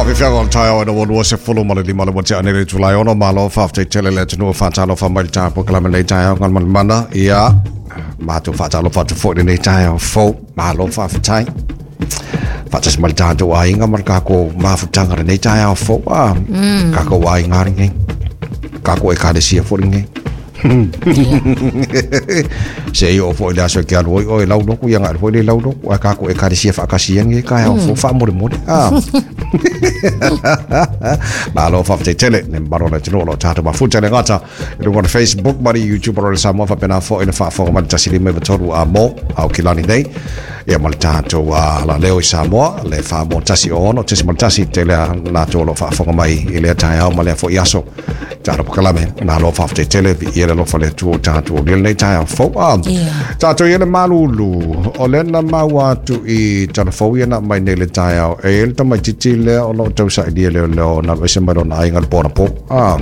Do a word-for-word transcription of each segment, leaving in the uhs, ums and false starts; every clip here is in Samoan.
Faafefea o le taeao ina ua lua sefulu ma le lima le ua tea nei le itula e ono. Malo faafetai tele le atunuu faatalofa mai le taeao polokalame lenei taeao Galumalemana. Ia matou faatalofa atu foi lenei taeao fou. Malo faafetai. Faatasi mai le tatou aiga ma le kākou mafutaga lenei taeao fou. Ah, kākou aiga lenei. Kākou ekalesia foi lenei. Se i o foi le aso ke alu oi oi lau loku ia ngai foi le lau loku a kākou ekalesia faakasi ia nge taeao fou faamolemole. Ah. Malo faafetai tele le mamalu o le atunuu o lo o tatou mafuta le gata i luga o le Facebook ma le YouTube o le Samoa faapena foi le faafofoga mai le tasi lima iva tolu a mo Aukilani nei ia ma le tatou uh, laleo i Samoa le fa mo tasi o ono tasi ma le tasi tele a latou o lo o faafofoga mai i lea taeao ma lea foi aso tatou polokalame. Malo faafetai tele i le alofa le Atua o tatou o lenei taeao fou. Ah, Yeah. tatou i le malulu o lea na maua atu i talafou ia na mai nei le taeao e i le tamaitiiti lea o lo o tausailia leoleo na alu ese mai lona aiga le po anapo. Ah,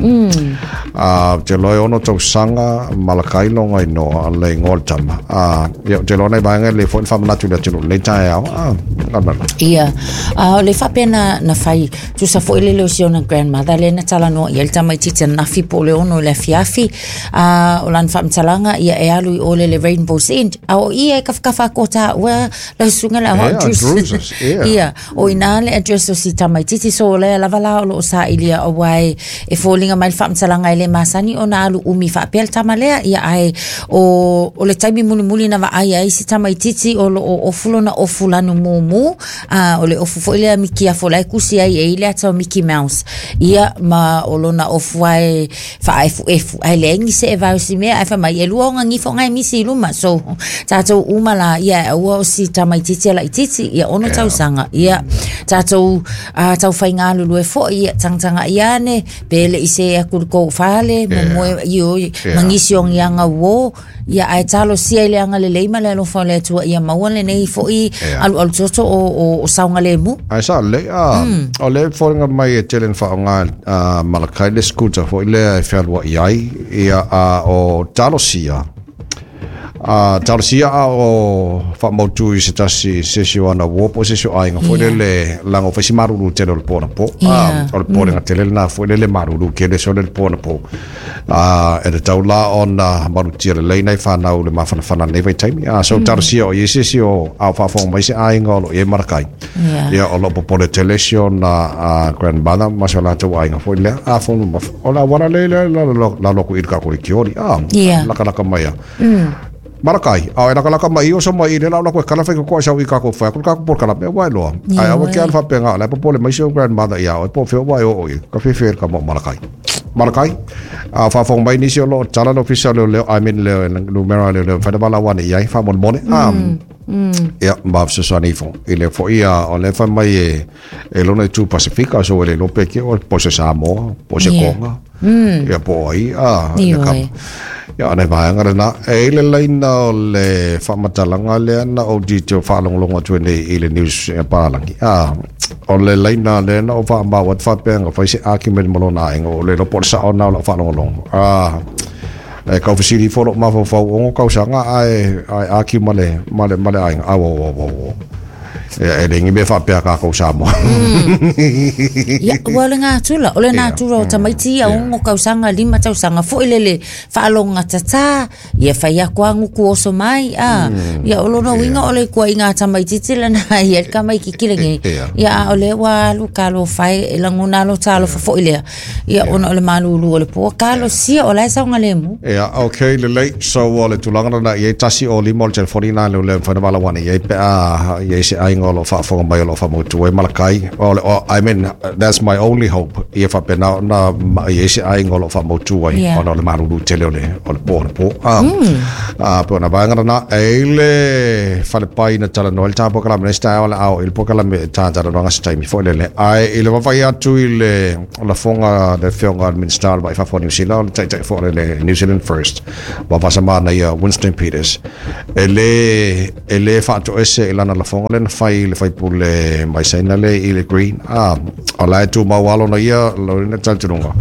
ah, te loa e ono tausaga Malakai loga inoa le igoa o le tama. Ah, ia te loa nai vaega le foi le faamanatu i le atunuu lenei taeao. Ah, Galumalemana. Ia, a o le faapea na, na fai, tusa foi le leo si ona grandmother le na talanoa ia le tamaitiiti anafi po o le ono i le afiafi, a o lana faamatalaga ia e alu i o le le Rainbow's End, a o ia e kafakafa kota ua lau susuga le Yeah, ahoa Drusus. Drusus, yeah. Ia, o ina le address o si tamaitiiti so lea lava la o loo sailia aua e, e foliga mai le faamatalaga e le masani ona alu umi faapea le tama lea ia ae o, o le taimi mulimuli na vaai ai si tamaitiiti o loo ofu lona ofu lanu mumu a o le ofu foi lea mikiafo la e kusi ai e i le ata o Mickey Mouse ia ma o lona ofu ai faaefuefu ae leai ni se e vaosi mea ae fai mai e lua ona gifo ngai misi i luma so tatou uma la ia aua o si tamaitiiti a laitiiti ia ono tausaga ia tatou uh, taufaigalulue foi ia tagataga ia ane pe le i se aku le kou fale momoe io Yeah. mangisi o ngiaga uō ia ae talosia i le agalelei ma le alofa o le Atua ia maua lenei foi Yeah. alualu toto o, o, o saogalemu. Ai sa le a o le foinga mai e tele na faaaoga a Malakai le scooter foi lea e fealuai ai ia a o talosia a talosia a o faamautu i se tasi se isi o ana uo po o se isi o aiga foi Yeah. lele laga o faisi malulu tele o le po anapo. Yeah. A o le polega tele lena foi lele malulu kele so le po anapo a e tatau la ona malutia lelei nai fanau le mafanafana nei vaitaimi. A so talosia o ia se isi o a o faafofoga mai se aiga o loo i ai Malakai. Yeah. Ia o loo popole tele si ona a grandmother ma se o latou aiga foi lea a fo o le auala le le la loku i le kako i kioli a Yeah. lakalaka mai a Malakai, a e lakalaka mai o so mai i le lau lako e kala whai koa sau i kako whai, ko kako por kala mea wai loa. Ai awa ke alfa penga, le popole mai si o grandmother ia, o po whio wai o o i, ka whiwhi ka mo Malakai. Malakai, a whawhong mai nisi o lo, tala no fisa leo leo, I mean leo, numera leo leo, whaina wala wane iai, wha mone mone. Ah, ia, ma fesoasoani ifo. I le foi ia, o le whai mai e, e lona i tū Pasifika, so e le lope ke o, po se Samoa, po se Yeah. Konga, ia po ai, ah, le Ioe. kapa. Ia, nei vaega lena. E i le laina o le faamatalaga lea na ou detail faalogologo atu ai nei i le news e palalagi. Ah, o le laina lea na ou faamau atu faapea fai se argument ma lona aiga o le iloa po o le sao lena o lau faalogologo. Ah, e kaufesili ifo loo mafaufau ogo tausaga ae ae argue ma le ma le ma le aiga. Au au au au au. E e le igi mea faapea kākou Samoa. Ia, ua o le natura, o le natura o tamaiti ia ono tausaga, lima tausaga foi lele faalogogatata, ia fai aku aguku oso mai, a. Ia o lona uiga o le ikuaiga a tamaitiiti lena ia le tamaikiki lenei. Yeah. Ia a o lea ua alu talofa e e lagona alo talofa foi lea. Ia ona o le malulu o le poa talosia o la e saogalemu. Ia, okay, lelei. So, o le tulaga lena i ai tasi o lima o le telefoni na leo lea mawhai na wala wane i ai pe a i ai se aiga o lo faafofoga mai o lo faamautu ai Malakai. O le, o, I mean, that's my only hope. Ia faapena ona ma i ai se aiga o lo faamautu ai Yeah. ona o le malulu tele o le, o le po o le po. Ah, ah, pe ona vaega lena, e i le falepai na talanoa i le tāpokalame nei se taeao le ao i le pokalame e tātalanoaga se taimi foi lele. Ae i le vaavaai atu i le lafoga le afioga a le Minista o le Vaai Fafo o New Zealand, o le taitai foi o le New Zealand First, vavasamana ia Winston Peters, e lē e lē faatoese i lana lafoga lea na fai i le faipule mai Saina le i le Green. Ah, o la e tumau alo na ia lona talitonuga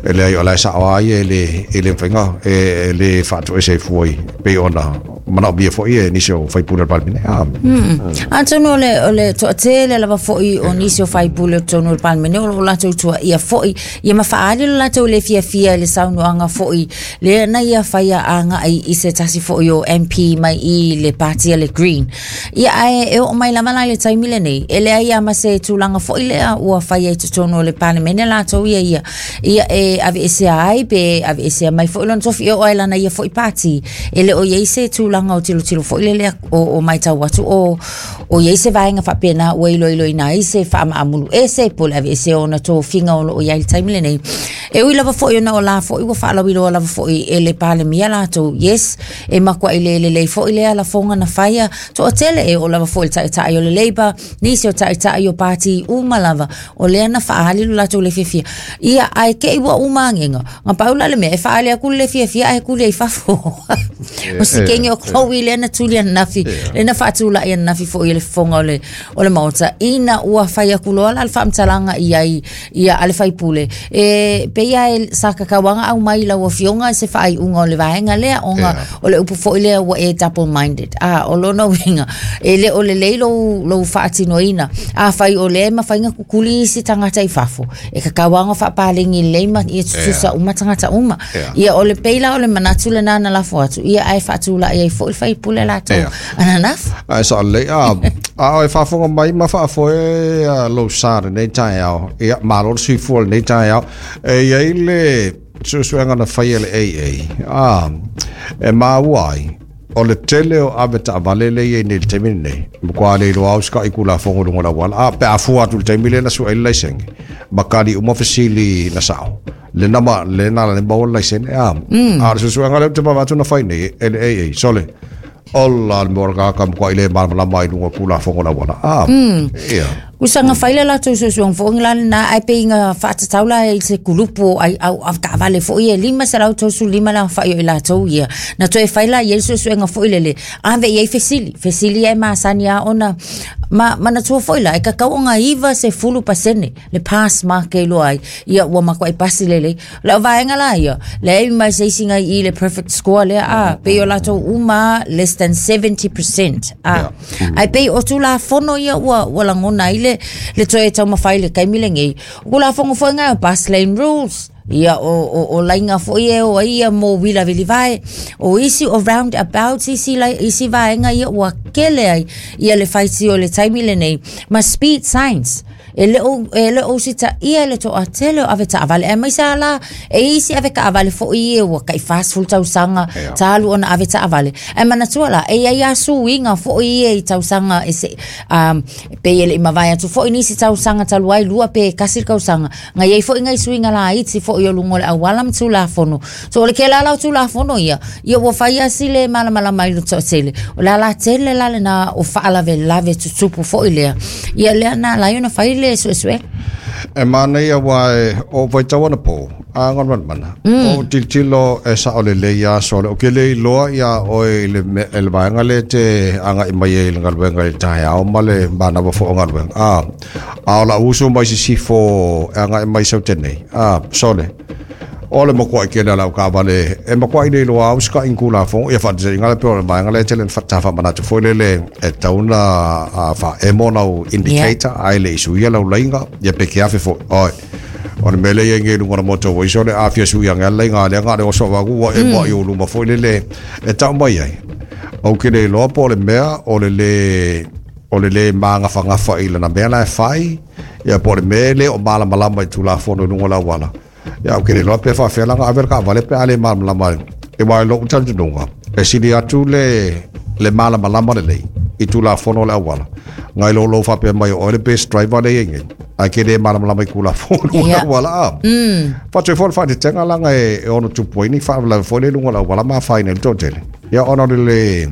e leai o la e saoa ai e le e le mafaiga e e lē faatoese ai fua i pei ona manaʻomia foʻi e nisi o faipule o le Palemene a Atonu o le, o le toʻatele lava foʻi o nisi o faipule o totonu o le Palemene o loo latou tuaʻia foʻi ia ma faaali lo latou le fiafia i le saunoaga foʻi lea na ia faia agaʻi i se tasi foʻi o M P mai i le patia le Green. Ia ae e oo mai lava la i le taimi lenei e leai a ma se tulaga foʻi lea ua faia i totonu o le Palemene latou ia ia ia e aveesea ai pe aveesea mai foʻi lona tofi e oo ai lana ia foʻi pati e le o iai se tulaga o tilotilo foʻi le lea o, o maitau atu o o iai se vaega faapena ua iloiloina ai se faamaamulu ese po o le aveesea ona tofiga o loo iai le taimi lenei. E ui lava foʻi ona o la foʻi ua faalauiloa lava foʻi e le Palemia latou yes e makuaʻi le lelei foʻi lea lafoga na faia toʻatele e oo lava foʻi le taʻitaʻi o le Labour nisi o taʻitaʻi o pati uma lava o lea na faaali lo latou le fiafia ia ae keʻi ua uma agega ga pau la le mea e faaali aku le fiafia ae kuli ai fafo o sikegi o Chloe lea na tuli ananafi lea na faatulaʻi ananafi foʻi i le fofoga o le o le maota ina ua fai aku loa la le faamatalaga i ai ia a le faipule e peia e sa kakauaga au mai lau afioga se faaiuga o le vaega lea ona o le upu foʻi lea ua e double minded a o lona uiga e le o lelei lou lou faatinoina afai o lea e mafaiga kukuli isi tagata i fafo e kakauaga faapalegi lelei ma ia tutusa uma tagata uma ia o le pei la o le manatu lenā na lafo atu ia ae faatulaʻi ai foʻi le faipule latou ananafi ae saʻalelei a a o e faafofoga mai ma faafoe lou sa lenei taeao ia malo le soifua lenei taeao e iai le suesuega na faia le A A a e maua ai o le tele o ave taavale le iai nei le taimi lenei makuā le iloa au sekaʻi kulafogo luga o le auala a pe afua atu le taimi lea na suʻai le laisene ma kali uma fesili na saʻo le nama le na le maua le laisene a a le suesuega lea ou te vava atu na fai nei e le A A sole ola le mea o ka makuaʻi le malamalama ai luga o kulafogo o le auala a ia Usaga fai le latou suesuega foʻi la lenā ae peiga faatatau la i se kulupu o ai au taavale foʻi e lima selau tolusefulu lima le aofaʻi o i latou ia na toe fai la iai le suesuega foʻi lele ave i ai fesili fesili e masani a ona ma manatua foʻi la e kakau oga iva sefulu pasene le pass mark e iloa ai ia ua makuaʻi pasi lelei le o vaega la ia leai mai se isiga i le perfect score lea a pei o latou uma less than seventy percent a ae pei o tulafono ia ua ua lagona ai le le toe taumafai le taimi lenei o kulafono foʻi gae o bus lane rules ia o o o laina foʻi e o ai ia mo uila vilivae o isi o roundabouts isi lai isi vaega ia ua kele ai ia le faitio le taimi lenei ma speed signs e le o e le o sita ia le toʻatele o ave taavale ae maise ala e isi ave kaavale foʻi e ua kaʻi fasefulu tausaga talu ona ave taavale ae manatua la e iai asuiga foʻi ia i tausaga e se um, pe e leʻi mavae atu foʻi nisi tausaga talu ai lua pe kasi le kausaga ga iai foʻi gai suiga laiti foʻi o luga o le auala ma tulafono so o le kela la o tulafono ia ia ua fai asi le malamalama ai le toʻatele o le alatele la lenā o faalavelave tutupu foʻi lea ia lea na alai ona fai le suesue E manaia ua e o vaitau ana pō a mana o tilotilo e saʻo lelei aso le o ke le iloa ia oe i le me- e le vaega le te agaʻi mai ai i le galuega i le taeao ma le manawa foʻo galuega a a o laʻu uso mai sisifo e agaʻi mai sautenei a sole o le makuaʻi kele a lau kaavale e makuaʻi le iloa au sekaʻi kulafogo ia faataitaiga le pe o le vaega le tele na faamanatu foʻi lele e tauna a faaemo lau indicator ae le isuia lau laiga ia pe ke afe foʻi oe o le mea lea iai luga o le moto ua iso le afia suiaga a le laiga lea ga le oso avaku ua e moaʻi o luma foʻi lele e taʻu mai ai ou ke le iloa po o le mea o le lē o le lē magafagafa i lana mea la e fai ia po o le mea le o malamalama i tulafono i luga o le auala ia o ke le iloa pe faafea laga ave le kaavale pe a le malamalama e ua e loʻu talitonuga e sili atu le le malamalama lelei i tulafono o le auala ngai lou lou faapea mai o oe le best driver le iai nei ae ke lē malamalama i kulafono i luga o le auala a faatoe foi le faatetega laga e e ono tupu ai ni faalavelave foi le i luga o le auala ma afaina i le toatele ia ona o le le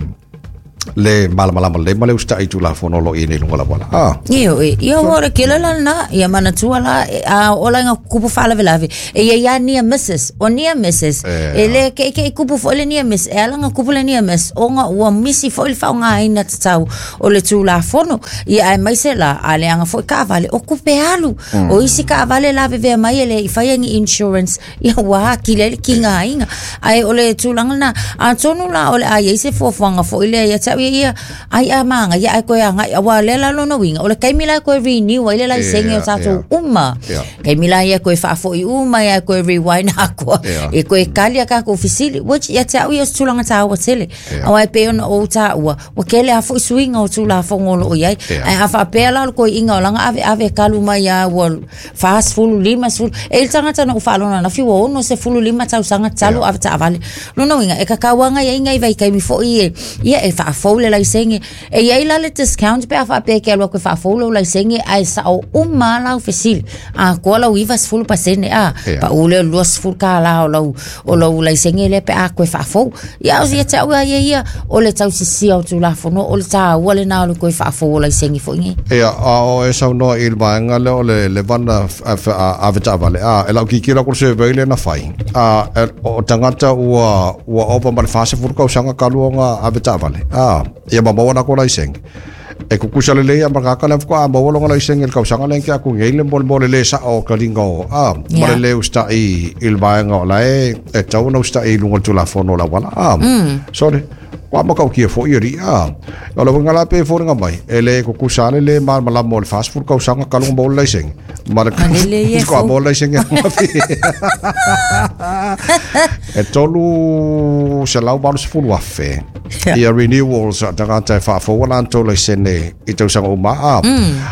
Le malamalama le ma le usta i tulafono lo i nei lunga la wala. Ah. Io e ia o le kela la na ia manatua la a ola nga kupu faalavelave e ia ia near misses o near misses e le ke ke kupu fo le near miss e ala nga kupu le near miss o nga ua misi fo le faonga ina tatau o le tulafono ia ai mai se la a le anga fo ka vale o kupe alu o isi ka vale la veve mai le i fai ni insurance ia wa ki le ki nga inga ai o le tulanga na a tonu la o le ai se fuafuaga fo ile ia ia ia ai a manga ia ai koe anga wa le la lona winga o le kaimila koe renew ai le la senge o tatou uma kaimila ia koe faafoi uma ia koe rewind akua e koe kali ka ko fisili which ia tau ia tulanga tau tele au ai pe ona o ta ua wa kele a foi suinga o tula fongolo o iai ai a fa pela koe inga o langa ave ave kalu mai ia ua fast fulu lima fulu e il tangata no falona na fiwa ono se fulu lima tau sanga talu ave ta avale lona winga e kakawanga ia inga i vai kaimi foi e ia e fa fole la isenge e ia ila le discount pe afa pe ke lo ke fa fole la isenge ai sa o uma la oficil a ko la uiva fulu pasene a pa ule lo fulu ka la o la o la la isenge le pe a ko fa fo ia o ia ta ia ia o le tau sisi o tu la fono o le ta o le na lo ko fa fo la isenge fo ngi ia a o e sa no il vaenga le o le le vana a veta vale a e la ki ki la ko se vele na fai a o tangata ua ua opa ma le fase fulu ka usanga kaluonga a veta vale a ia maua na ko laisenge e kukusa le lea makaka le fuka maua longa laisenge le kausanga le ke aku ngei le mole mole le sa o kalinga o a mole le usta i il vaenga o la e e tau na usta i lunga tulafono la wala a sorry wa makau kia fo i a o le wanga la pe fo nga mai e le kukusa le le ma la mole fast food kausanga kalunga mole laisenge ma le ko mole laisenge e tolu se lau balu se fulu afe ia renewals a tangata e faafou ala antou laisene i tausaga uma a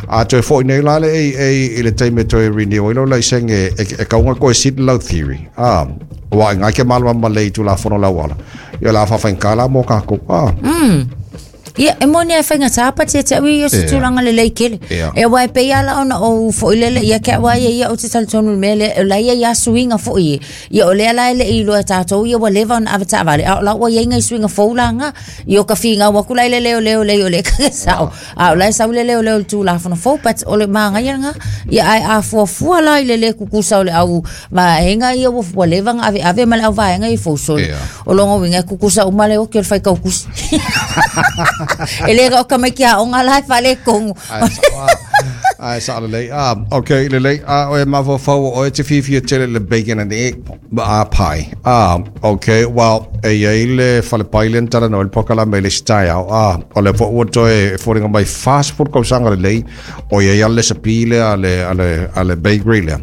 a toe fo'i nei la le e i le taimi e toe renew ai lau laisenge e kauga koe sit lau theory a ua i ngai ke malama lei tulafono lauala ia la faafaigā mo kākou a Ia, e moni ai whainga tāpati e te ui o se tūranga le lei kele. E wai pe ia la ona o fo i lele, ia kia wai ia o te talitonu mea le, o lai ia suinga fo i. Ia o lea lai le i loa tātou, ia wa lewa ona ave taavale. A o la ua ia inga i suinga fōulanga, i o ka whinga waku lai le leo leo leo le kake sao. A o lai sau le leo leo le tūlafono fō, but o le maanga ia nga, ia ai a fuafua lai le le kukusa o le au vaenga ia wa lewa nga ave ave ma le au vaenga i fōsoli. O longo winga kukusa umale o ki o le whaikau kusi. E le o ka mai kia o ngā lai whale kongu. Ai sa le lei. Ah, okay, le lei. Ah, o e mafofau o e te whiwhi e tele le bacon and egg ah, pie. Ah, okay, well, e iei le whale le ntara no el pokala me le style. Ah, o le fo ua e fōringa mai fast food kausanga le lei. O iei ale sapi le ale, ale, ale bakery le.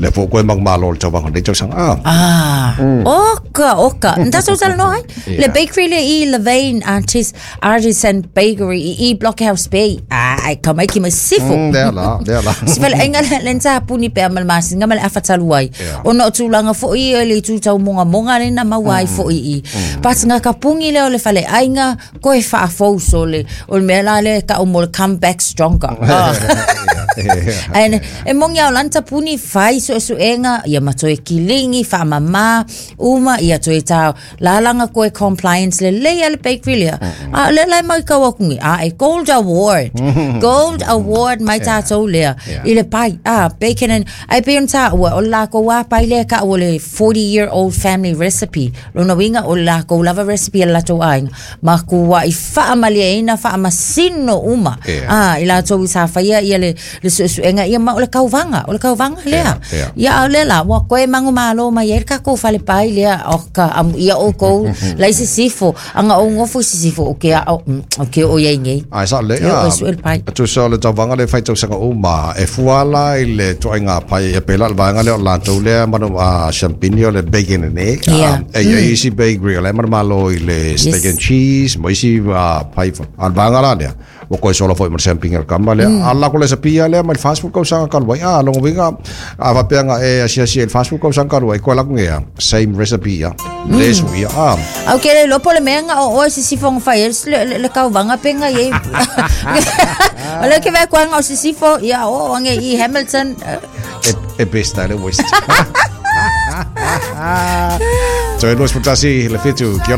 Le fo koe mangmalo le tauanga le tausanga. Ah, ah oka, oka. Nta sausala no ai? Le bakery le i Levane Artis, Artisan Bakery i, i Blockhouse Bay. Ah, ai ka mai ki mai sifu. Mm, lea la, lea la. Sifele ainga le nta puni pe amal masinga ma le afatalu ai. Ona o tūlanga fo i le tūtau monga monga le na maua ai fo i i. Patinga ka pungi le o le fale ainga koe faafou so le o le mea la le ka o mo le come back stronger. And e mongi au lanta puni fai so so enga ia matoe kilingi fa mama uma ia toe tau lalanga koe compliance le le le bakery le. A le le mai ka wakungi a e gold award. Gold award mai tātou lea. I le pai a bacon and ai pe on ta o la ko wa pai le ka o le forty year old family recipe. Lona winga o la ko lava recipe la to ai. Ma ku wa i fa amalia ina fa amasino uma. Ah i la to sa fa ia ia le le suesuega ia ma o le kauvanga o le kauvanga lea. Ia o le la wa koe mangu malo mai e ka ko fale pai lea o ka amu ia o ko la isi sifo anga o ngofo isi sifo o ke o ke o ia ngi. Ai sa le a tu sa le tauvaga le faitausaga uma e fuala i le toaiga pai e pela le vaega lea o latou lea manu a champignon le bacon and egg e ia isi bakery o le manu malo i le steak and cheese ma isi pai a le vaega la lea ua koe sola foi ma le champignon le kama lea ala ko le sapia lea ma le fast food kausaga kaluai a longo viga a fapeaga e asiasi e le fast food kausaga kaluai koe laku gea same recipe ia le suia a au ke le lopo le mea o oe sisifo nga fai le le kauvaga penga ie o le ke vai koanga o sisifo ia o ange i Hamilton e e besta le west. Toe luas potasi le fitu kia